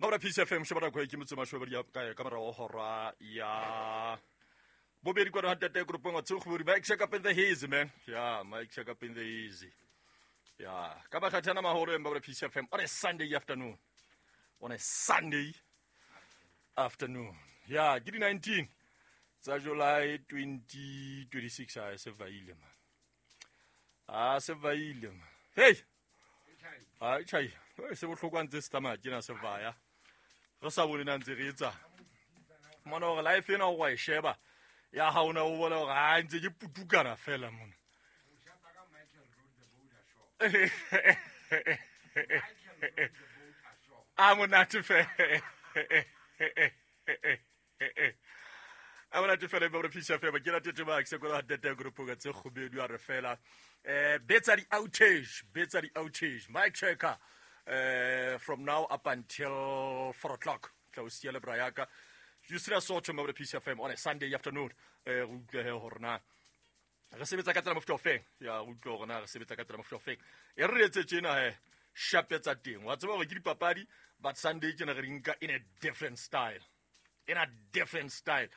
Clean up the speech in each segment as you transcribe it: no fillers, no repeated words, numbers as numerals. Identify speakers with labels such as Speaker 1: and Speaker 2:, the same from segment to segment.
Speaker 1: Mabra Peace FM sheba nako e ke motse masho ba ka ka morago hora ya bobedi kwa ha tete grupong wa tsoguri. Mike check up in the hazy, man. Yeah, Mike check up in the hazy. Yeah, ka ba khathana maholo, Mabra Peace FM on a Sunday afternoon. On a Sunday afternoon. Yeah, ke di 19 tsa July 2026. A se vaile, man. A se vaile, man. Hey. Ai chai, se bohlokwa ntse se tsamaya tjena se vaya. Re sa bone na ntse re etsa. Mona hore life ena o wa e sheba. Ya ha ona o bona hore ha ntse ke putukana fela mona. A monate fela. A monate fela ba re phisa fela ke rate ba ke se kola tete group ka tse kgubedu a re fela betsa di outage, betsa di outage. Mike Checker from now up until 4 o'clock tla o siya le brayaka Yusra Soto mo re Peace FM on a Sunday afternoon. Re utlwe he hore na re sebetsa ka tsela mofuta ofeng. Ya re utlwe hore na re sebetsa ka tsela mofuta ofeng. E re etse tjena he shape tsa teng wa tseba hore ke dipapadi, but Sunday tjena re di nka in a different style, in a different style.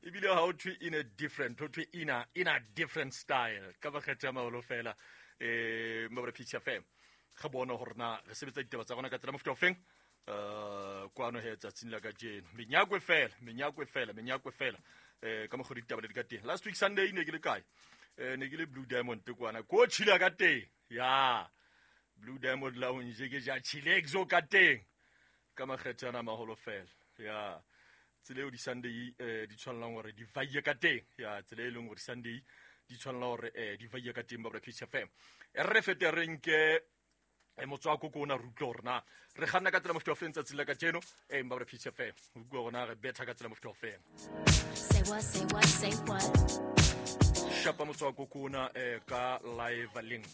Speaker 1: Ebile ha o thwe in a different, ho thwe in a different style ka bakgetho ya maholo fela. Mo re Peace FM re bone hore na re sebetsa ditaba tsa rona ka tsela mofuta ofeng kwano he tsatsing la kajeno. Menyakwe fela, menyakwe fela, menyakwe fela. Ka mokgwa ditaba le di ka teng. Last week Sunday ne ke le kae? Ne ke le Blue Diamond kwana ko chila ka teng. Ya Blue Diamond Lounge ke ja chillaxo ka teng ka makgetho ana maholo fela. Ya tsela eo di-Sunday di tshwanelang hore di vaie ka teng, ya tsela e leng hore di-Sunday di tshwanela hore di vaie ka teng. Ba Peace FM e re fete re nke motswako ko ona re utlwe hore na re kganna ka tsela mofuta ofeng tsatsing la kajeno. Ba Peace FM re utlwe hore na re betha ka tsela mofuta ofeng.
Speaker 2: Say what, say what, say what.
Speaker 1: Shapa motswako ko ona ka live link.